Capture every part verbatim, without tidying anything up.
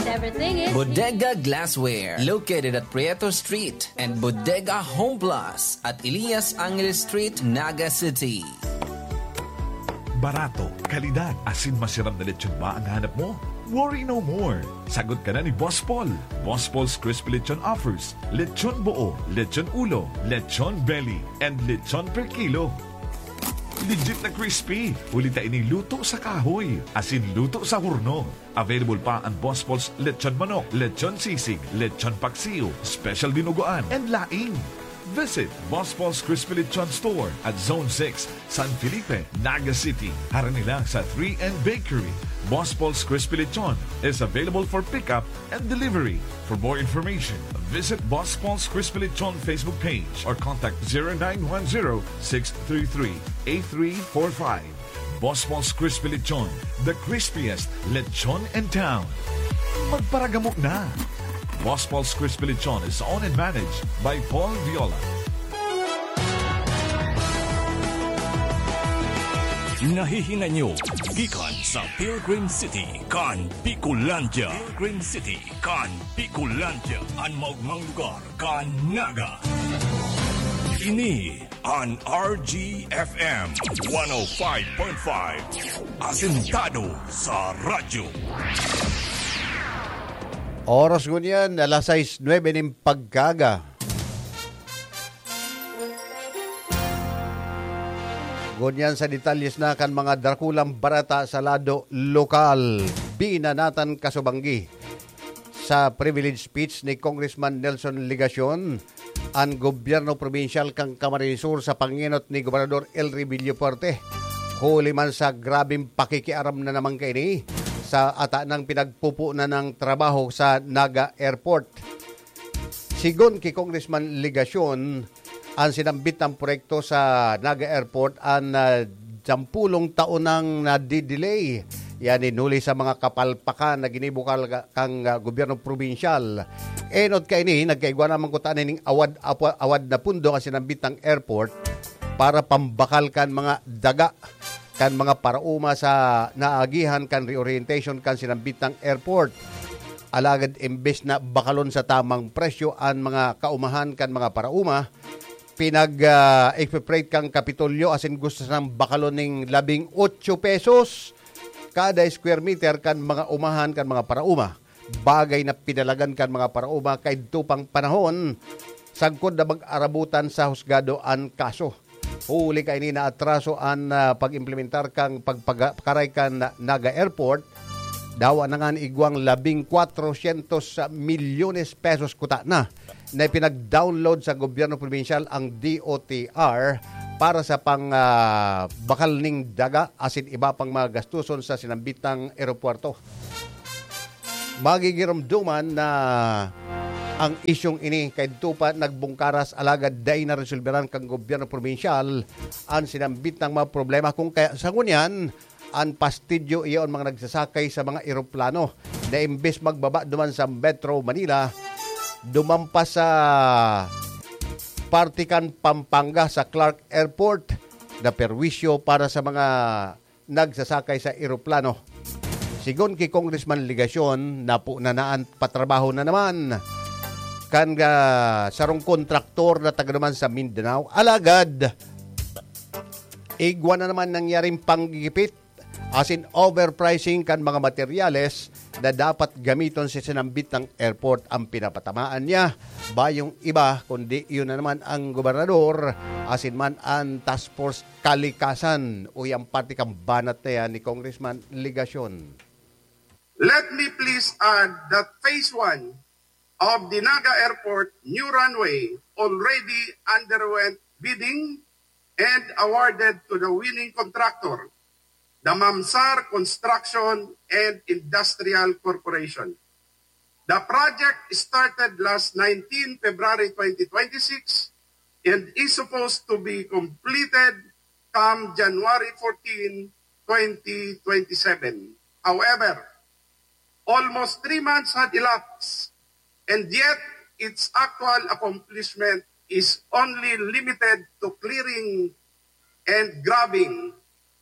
Everything is Bodega Glassware, located at Prieto Street, and Bodega Home Plus at Elias Angeles Street, Naga City. Barato, kalidad, asin masiram na lechon ba ang hanap mo? Worry no more! Sagot ka na ni Boss Paul. Boss Paul's Crispy Lechon offers lechon buo, lechon ulo, lechon belly, and lechon per kilo. Legit na crispy, huli ta ini luto sa kahoy, asin luto sa horno. Available pa ang Boss Paul's Lechon Manok, Lechon Sisig, Lechon Paksiw, Special Dinuguan, and laing. Visit Boss Paul's Crispy Lechon Store at Zone six, San Felipe, Naga City. Harani lang sa three N Bakery. Boss Paul's Crispy Lechon is available for pickup and delivery. For more information, visit Boss Paul's Crispy Lechon Facebook page or contact zero nine one zero, six three three, eight three four five. Boss Paul's Crispy Lechon, the crispiest lechon in town. Magparagamo na! Boss Paul's Crispy Lechon is owned and managed by Paul Viola. Nahihinay nyo gikan sa Pilgrim City kan Bicolandia. Pilgrim City kan Bicolandia, an maogmang lugar kan Naga. Ini an R G F M one oh five point five, asentado sa radyo. Oras ngunyan, alas sais nuebe nin pagkaaga. Ngunyan sa detalyes na kan mga dakulang bareta sa lado lokal, binanatan kasubanggi sa privilege speech ni Congressman Nelson Legacion, an gobyerno probinsyal kan Camarines Sur sa pangenot ni Gobernador Elry Villafuerte. Huli man sa grabeng pakikiaram na naman kaini sa ata nang pinagpupunan ng trabaho sa Naga Airport. Sigon ki Congressman Legacion, an sinambit na proyekto sa Naga Airport an, ah, sampulong taon nang nadidelay. Yan in huli sa mga kapalpakan na ginibo kal-, kang, ah, gobyerno probinsyal. Enot kaini, nagkaigwa naman kuta ning awad, apo-, awad na pundo ang sinambit ng airport para pambakal kan mga daga kan mga paraoma sa naagihan kan reorientation kan sinambit ng airport. Alagad imbes na bakalon sa tamang presyo an mga kaumahan kan mga paraoma, pinag, ah, expropriate kan Kapitolyo asin gusto sanang bakalon ning labing otso pesos kada square meter kan mga umahan kan mga paraoma. Bagay na pinalagan kan mga paraoma kaidto pang panahon, sagkod na mag-arabutan sa husgado an kaso. Huli kaini naatraso an, ah, pag-implementar kan pagpaga-, pagkaray kan Naga Airport, dawa na ngan igwang labing kwatrosyentos milyones pesos kuta na, na ipinag-download sa gobyerno probinsyal ang D O T R para sa pang, ah, bakal ning daga asin iba pang mga gastuson sa sinambitang eropuwerto. Magigiromdoman na ang isyung ini kaidto pa nagbungkaras, alagad dai naresolberan kan gobyerno probinsyal an sinambit na mga problema. Kung kaya sa ngunyan, an pastidyo iyon mga nagsasakay sa mga eroplano na imbes magbaba duman sa Metro Manila, dumampas sa parte kan Pampanga sa Clark Airport na perwisyo para sa mga nagsasakay sa eroplano. Sigon ki Congressman Legacion, napo na naan patrabaho na naman kan, ah, sarong kontraktor na taga naman sa Mindanao. Alagad, igwa na naman nangyaring panggigipit asin overpricing kan mga materyales na dapat gamiton sa sinambit ng airport ang pinapatamaan niya. Bayong iba, kundi iyon na naman ang gobernador asin man an task force kalikasan o yang parte kan banat na yan ni Congressman Legacion. Let me please add that phase one of the Naga Airport new runway already underwent bidding and awarded to the winning contractor, the Mamsar Construction and Industrial Corporation. The project started last nineteen February twenty twenty-six and is supposed to be completed come January fourteen, twenty twenty-seven. However, almost three months had elapsed, and yet its actual accomplishment is only limited to clearing and grubbing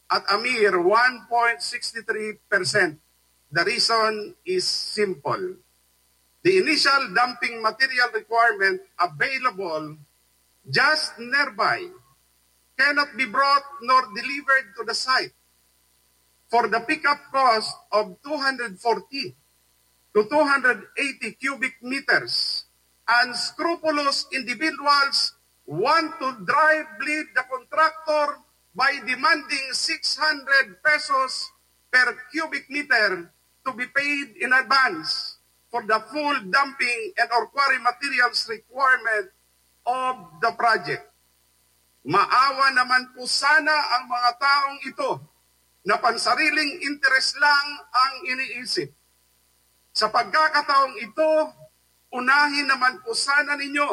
at a mere one point six three percent. The reason is simple. The initial dumping material requirement available just nearby cannot be brought nor delivered to the site for the pickup cost of two hundred forty to two hundred eighty cubic meters. Unscrupulous individuals want to dry bleed the contractor by demanding six hundred pesos per cubic meter to be paid in advance for the full dumping and or quarry materials requirement of the project. Maawa naman po sana ang mga taong ito na pansariling interes lang ang iniisip. Sa pagkakataong ito, unahin naman po sana ninyo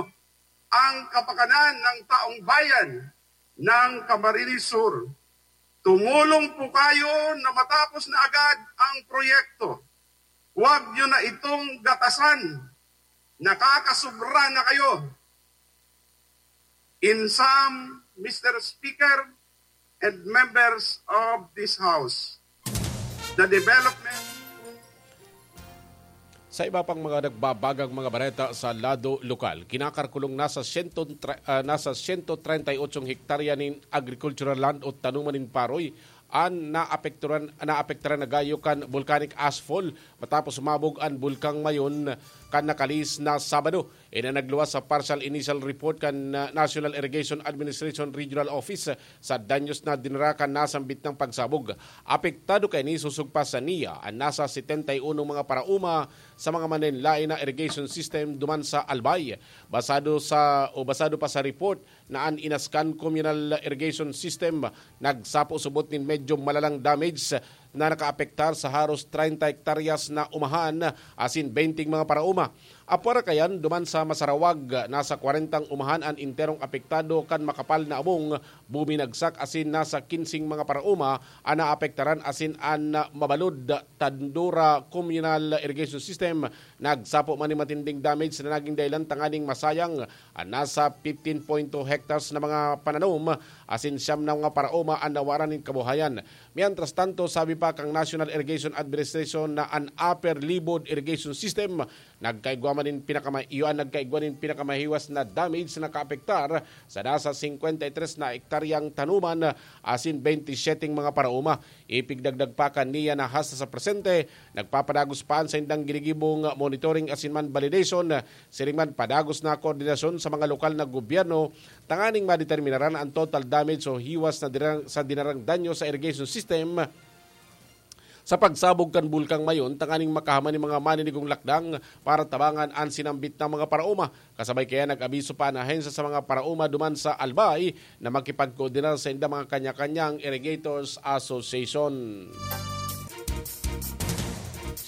ang kapakanan ng taong bayan ng Camarines Sur. Tumulong po kayo na matapos na agad ang proyekto. Huwag nyo na itong gatasan. Nakakasubra na kayo. In sum, Mister Speaker and members of this House, the development Sa iba pang mga nagbabagang mga bareta sa lado lokal, kinakalkulong nasa siyento, ah, nasa siyento treinta y ocho hektarya nin agricultural land o tanuman nin paroy an naapekturan, naapektaran na gayo kan volcanic ashfall matapos sumabog an Bulkang Mayon kan nakalihis na Sabado. Ini an nagluwas sa partial initial report kan, ah, National Irrigation Administration Regional Office sa danyos na dinara kan nasambit na pagsabog. Apektado kaini sosog pa sa NIA an nasa setenta y uno mga paraoma sa mga manlaen-laen na irrigation system duman sa Albay. Basado sa, o basado pa sa report na an Inascan Communal Irrigation System nagsapo subot nin medyo malalang damage na nakaapektar sa haros treinta hektaryas na umahan asin benteng mga paraoma. Apwera kaiyan, duman sa Masarawag, nasa kwarentang umahan an enterong apektado kan makapal na abong, buminagsak asin nasa kinseng mga paraoma an naapektaran asin an mabalod Tandura Communal Irrigation System nagsapo man nin matinding damage na naging dahilan tanganing masayang an nasa fifteen point two hectares na mga pananom asin siyam na mga paraoma an nawaran nin kabuhayan. Mientras tanto, sabi pa kan National Irrigation Administration na an Upper Libod Irrigation System nagkaigwa man nin pinakama-, iyo an nagkaigwa nin pinakamahiwas na damage na nakaapektar sa nasa singkwenta y tres na hektaryang tanuman asin bente y siyete mga paraoma. Ipigdagdag pa kan NIA na hasta sa presente, nagpapadagos pa an saindang ginigibong monitoring asin man validation. Siring man, padagos na koordinasyon sa mga lokal na gobyerno tanganing madeterminaran an total damage o hiwas na dinarang, sa dinarang danyo sa irrigation system sa pagsabog kan Bulkang Mayon, tanganing makahaman nin mga maninigong lakdang para tabangan an sinambit na mga paraoma. Kasabay kaya, nag-abiso pa an ahensya sa mga paraoma duman sa Albay na makipagkoordinar sa inda mga kanya-kanyang Irrigators Association.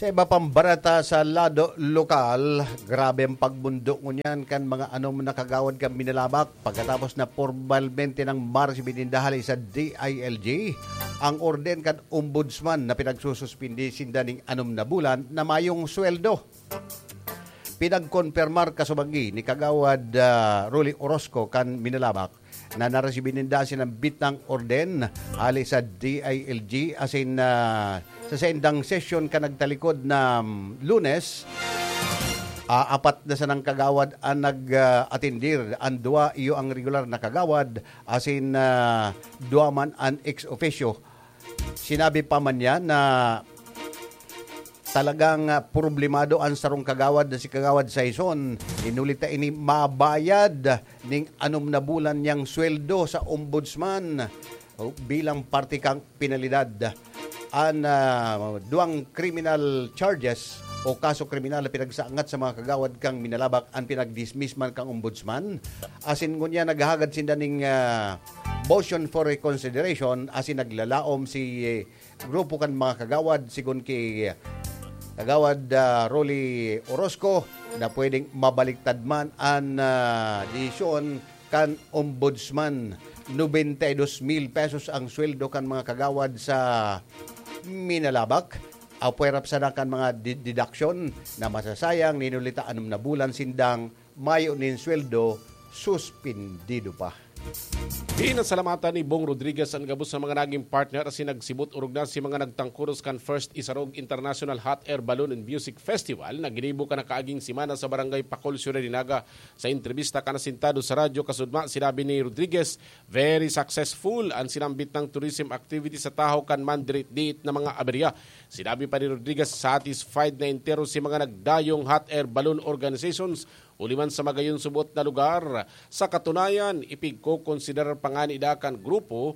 Sa iba pang bareta sa lado lokal, grabe ang pagbundo ngunyan kan mga anom na kagawad kan Minalabac pagkatapos na pormalmente nang maresibi ninda hali sa D I L G ang orden kan Ombudsman na pinagsususpindi sinda ning anom na bulan na mayong sweldo. Pinagkonpermar kasubagi ni Kagawad, ah, Rolly Orozco kan Minalabac na naresibi ninda sinambit na orden hali sa D I L G asin, ah, sa saindang sesyon kan nagtalikod na, mm, Lunes, ah, apat na sanang kagawad an nag, ah, atendir. An duwa iyo ang regular na kagawad asin, ah, duwa man an ex officio. Sinabi pa man niya na talagang, ah, problemado an sarong kagawad na si Kagawad Saison. Hinuli ta ini mabayad ning anom na bulan niyang sweldo sa ombudsman, o, bilang parte kan penalidad. An, ah, duwang criminal charges o kaso kriminal na pinagsaangat sa mga kagawad kan Minalabac an pinag-dismiss man kan ombudsman. Asin ngunyan naghahagad sinda ning, ah, motion for reconsideration asin naglalaom si, eh, grupo kan mga kagawad, sigon ki Kagawad, ah, Rolly Orozco, na pwedeng mabaliktad man an, ah, desisyon kan Ombudsman. Nobenta y dos mil pesos ang sweldo kan mga kagawad sa Minalabac. Apwera pa sana kan mga di-, deduction na masasayang, hinuli ta anom na bulan sindang mayo nin sweldo, suspindido pa. Pinasalamatan ni Bong Rodriguez an gabos na mga naging partner asin nagsibot orog na si mga nagtangkuros kan First Isarog International Hot Air Balloon and Music Festival na ginibo kan nakaaging semana sa Barangay Pacol, Ciudad de Naga. Sa entrebista kan asintado sa radyo Kasudma, sinabi ni Rodriguez, very successful an sinambit nang tourism activity sa tahaw kan mandirit-diit na mga aberya. Sinabi pa ni Rodriguez, satisfied na entero si mga nagdayong hot air balloon organizations huli man sa magayon subot na lugar. Sa katunayan, ipigkokonsiderar pa ngani ida kan grupo,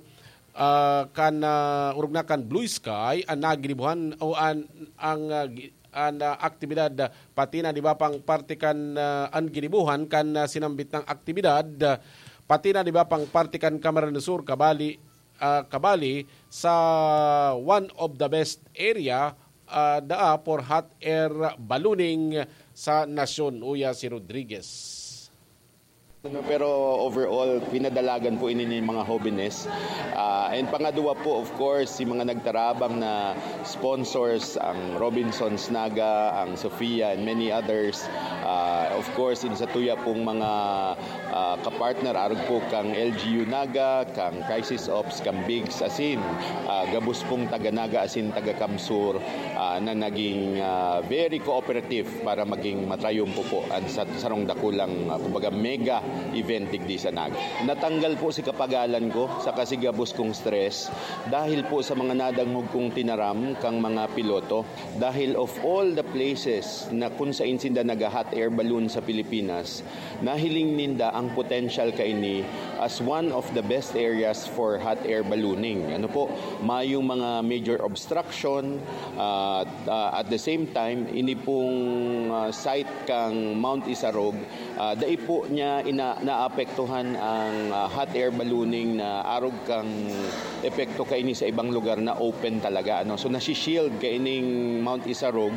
ah, kan, ah, orog na kan Blue Sky, an naginibuhan o an, ang, ah, gi-, an, ah, aktibidad, pati na, di ba, pang parte kan, ah, an ginibuhan kan, ah, sinambit nang aktibidad, pati na, di ba, pang parte kan Camarines Sur, kabali, ah, kabali sa one of the best area, ah, daa for hot air ballooning sa nasyon, uya si Rodriguez. Pero overall, pinadalagan po ini ni mga hobenes. Ah, and pangadwa po, of course, si mga nagtarabang na sponsors, ang Robinsons Naga, ang Sofia, and many others. Ah, of course, in sa tuya pong mga ah, kapartner, arog po kang L G U Naga, kang Crisis Ops, kang Bigs, asin ah, gabos pong taga Naga asin taga Kamsur ah, na naging ah, very cooperative para maging matrayumpo po ang sa, sarong dakulang, ah, kumbaga, mega event digdi sa Naga. Natanggal po si kapagalan ko, saka si gabos kong stress dahil po sa mga nadangog kong tinaram kang mga piloto. Dahil of all the places na kun sain sinda naga-hot air balloon sa Pilipinas, nahiling ninda ang potential kaini as one of the best areas for hot air ballooning. Ano po, mayong mga major obstruction, ah, ah, at the same time, ini pong ah, site kang Mount Isarog, ah, dai po niya ina-, naapektuhan ang ah, hot air ballooning na arog kang epekto kaini sa ibang lugar na open talaga, ano. So, nasi-shield kaining Mount Isarog,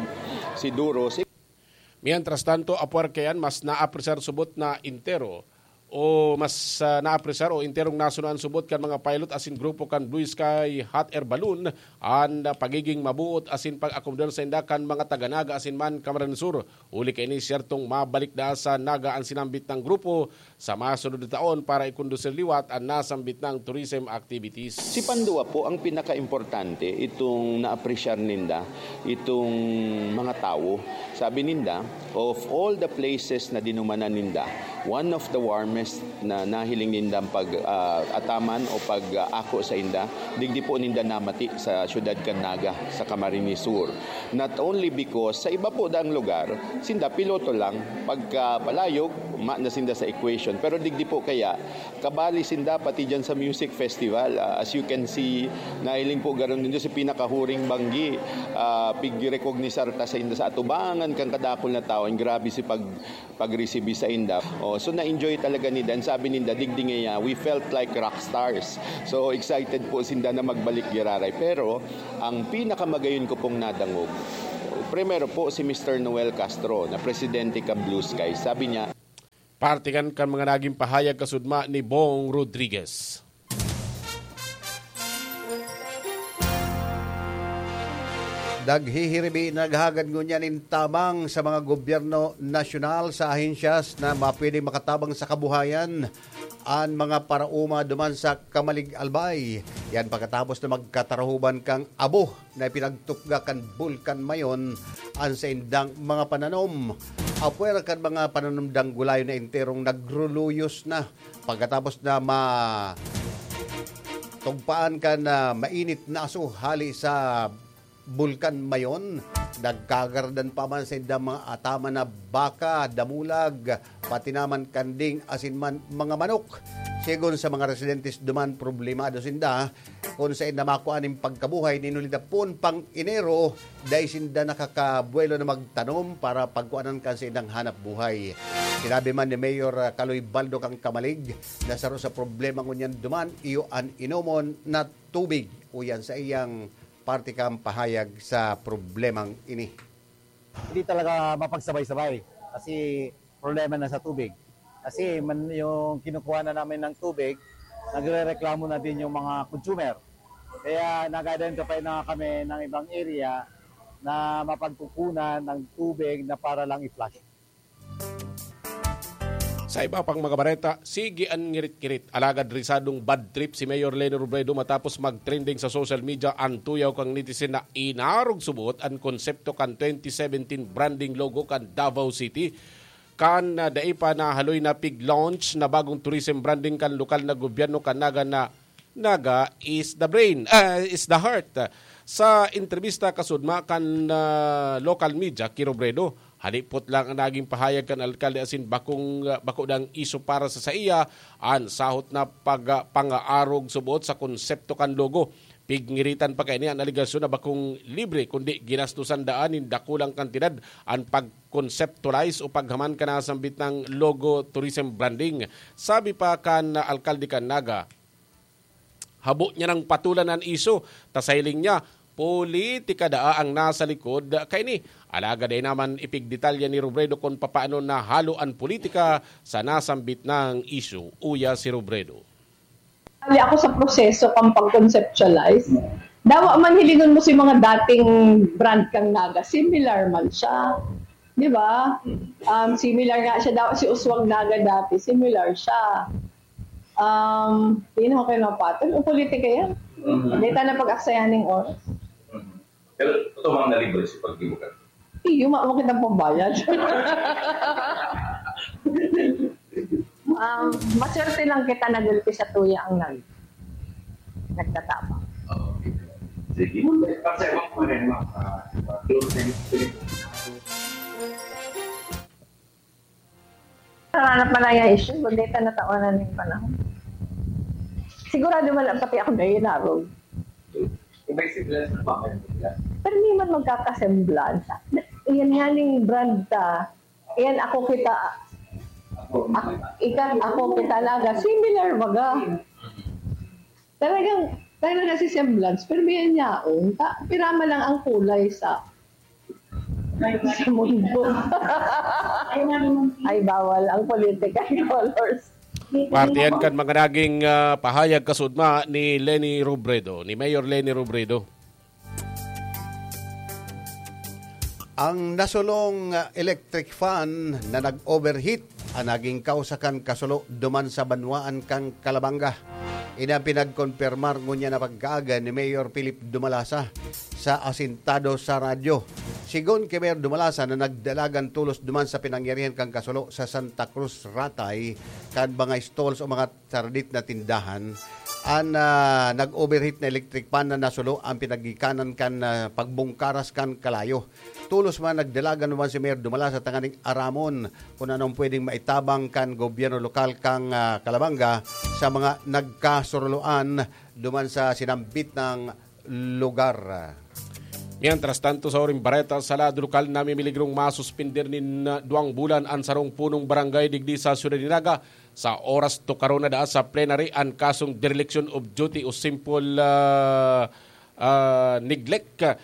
si Duros. Mientras tanto, apwar kaiyan, mas naapresar subot na entero o mas ah, naapresar o enterong nasunuan subot kan mga pilot asin grupo kan Blue Sky Hot Air Balloon an ah, pagiging mabuot asin pag-akomodar sainda kan mga taga Naga asin man Camarines Sur. Huli kaini, siyertong mabalik na sa Naga an sinambit nang grupo sa masunod na taon para ikondusir liwat an nasambit nang tourism activities. Si Pandua po ang pinakaimportante, itong naapresyar ninda, itong mga tawo. Sabi ninda, of all the places na dinumanan ninda, one of the warmest na nahiling nindang pag, ah, ataman o pag, ah, ako sa inda, digdi po ninda namati sa syudad kan Naga, sa Camarines Sur. Not only because sa iba po daang lugar, sinda piloto lang, pagka palayog, ma na sinda sa equation. Pero digdi po kaya, kabali sinda pati dyan sa music festival. Ah, as you can see, nahiling po garon din sa pinakahuring banggi. Ah, pigrekognisar ta sa, sa atubangan kan kadakul na tao. Ang grabe si pag, pagresibi sa inda. Oh, so na-enjoy talaga ninda. Ang sabi ninda, digdi ngaya, we felt like rock stars. So excited po sinda na magbalik giraray. Pero ang pinakamagayon ko pong nadangog, primero po si Mister Noel Castro, na presidente kan Blue Sky. Sabi niya, Parte kan, kan mga naging pahayag kasudma ni Bong Rodriguez. Naghihiribi, naghahagad ngunyan nin tabang sa mga gobyerno nasyonal, sa ahensyas na mapwedeng makatabang sa kabuhayan an mga paraoma duman sa Kamalig, Albay. Yan pagkatapos na magkatarahuban kang abo na ipinagtupga kan Bulkan Mayon an saindang mga pananom. Apwera kan mga pananom dang gulayon na enterong nagruluyos na pagkatapos na ma tugpaan kan ah, mainit na aso hali sa Bulkan Mayon. Nagkagaradan pa man sa indang mga ataman na baka, damulag, pati naman kanding asin man mga manok. Sigon sa mga residentes duman, problemado sinda kun saen na makua nin pagkabuhay nin huli na poon pang Enero, dai sinda nakakabuelo na magtanom para pagkuanan kan saindang hanap buhay. Sinabi man ni Mayor ah, Kaloy Baldo kang Kamalig na saro sa problema ngunyan duman iyo an inomon na tubig, uyan sa iyang parte kang pahayag sa problemang ini. Hindi talaga mapagsabay-sabay kasi problema na sa tubig. Kasi man, yung kinukuha na namin ng tubig, nagre-reklamo na din yung mga consumer. Kaya nag-identify na kami ng ibang area na mapagkukunan ng tubig na para lang i-flush. Sa iba pang mga bareta, sige an ngirit-ngirit. Alagad risadong bad trip si Mayor Leni Robredo matapos mag-trending sa social media an tuyaw kan netizen na inarog subot an konsepto kan twenty seventeen branding logo kan Davao City. Kan, ah, dai pa nahaloy na pig-launch na bagong tourism branding kan lokal na gobyerno kan Naga na Naga is the brain, ah, is the heart. Sa entrebista kasudma kan, ah, local media ki Robredo, halipot lang ang naging pahayag kan alkalde asin bakong, ah, bako dang isyu para sa saiya an sahot na pag-, ah, pangaarog subot sa konsepto kan logo. Pigngiritan pa kaini an alegasyon na bakong libre kundi ginastosan daan nin dakulang kantidad an pag-conceptualize o paghaman kan nasambit na logo tourism branding. Sabi pa kan alkalde kan Naga, habo niya nang patulan an isyu, ta sa hiling niya, politika daa ang nasa likod kaini. Alagad dai naman ipigdetalya ni Robredo kun papaano nahalo an politika sa nasambit na isyu. Uya si Robredo. Hali ako sa proseso kan pag-conceptualize. Dawa man hilingon mo si mga dating brand kang Naga, similar man siya. Di ba? Um, similar nga siya. Dawa si Uswag Naga dati, similar siya. Um, di na ako kayo mapatol. O politika yan. Dahil tayo na pag-aksayan ng oras. Pero totoo bang nalibre si pagdibukat? Iyo, ma mo kitang pambayad. um, maswerte lang kita nagulpi sa tuya ang nag nagtatapang. Sige. Kasi ako pa rin, ma- ah, closing. Naranap man lang yung issue, kundi ito natawanan ng panahon. Sigurado man lang pati ako na inarog. Kung may semblance na bakit bigla. Pero hindi man magkakasemblance. Iyan nga ning brand ta. Iyan ako kita. Ak- ika, ako kita Naga. Similar baga. Talagang, talaga si semblance. Pero may yaon. Ta, pirama lang ang kulay sa sa mundo. Ay, bawal ang political colors. Parte yan kan mga naging ah, pahayag kasudma ni Leni Robredo, ni Mayor Leni Robredo. Ang nasulong ah, electric fan na nag-overheat ang naging kausa kan kasulo duman sa banwaan kan Calabanga. Ini ang pinagkonpirmar ngunyan na pagkaaga ni Mayor Philip Dumalasa sa Asintado sa Radyo. Sigon ki Mayor Dumalasa na nagdalagan tolos duman sa pinangyarihan kan kasulo sa Santa Cruz, Ratay, kan mga stalls o mga saradit na tindahan, an ah, nag-overheat na electric fan na nasulo ang pinagikanan kan ah, pagbungkaras kan kalayo. Tolos man nagdalagan duman si Mayor Dumalasa tanganing aramon kun anong pwedeng maitabang kan gobyerno lokal kan ah, Calabanga sa mga nagkasuruloan duman sa sinambit na lugar. Mientras tanto, sa uring bareta sa lado lokal, namimiligrong masuspender nin ah, duwang bulan an sarong punong barangay digdi sa siyudad ni Naga sa oras tukaron na daa sa plenary an kasong dereliction of duty o simple ah, ah, neglect ah,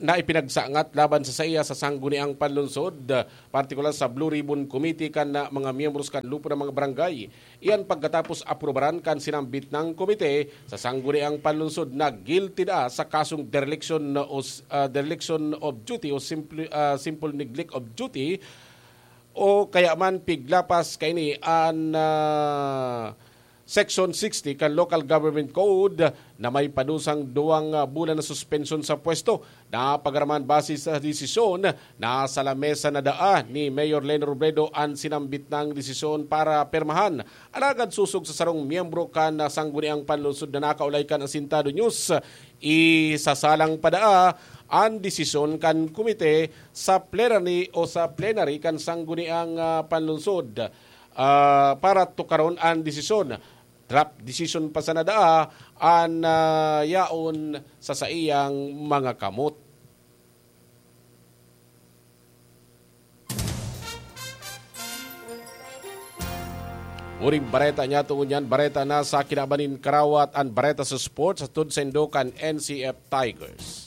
na ipinagsangat laban sa saiya sa Sangguniang Panlungsod, ah, partikular sa Blue Ribbon Committee kan ah, mga miyembros kan lupo ng mga barangay. Iyan pagkatapos aprubaran kan sinambit ng komite sa Sangguniang Panlungsod na guilty daa sa kasong dereliction o s- ah, dereliction of duty o simple ah, simple neglect of duty o kaya man piglapas kaini an ah, Section sixty kan Local Government Code na may padusang duwang ah, bulan na suspensyon sa pwesto. Napagaraman base sa desisyon na sa lamesa na daa ni Mayor Leni Robredo an sinambit na desisyon para permahan. Alagad sosog sa sarong miyembro kan Sangguniang Panlungsod na nakaulay kan Asintado News, isasalang pa daa an desisyon kan komite sa plenary o sa plenary kan Sangguniang ah, Panlungsod ah, para tukaron an desisyon. Draft decision pa sana daa an ah, yaon sa saiyang mga kamot. Uring bareta niya tungod niyan, bareta na sa kinaban nin karawat an bareta sa sports, hatod saindo kan N C F Tigers.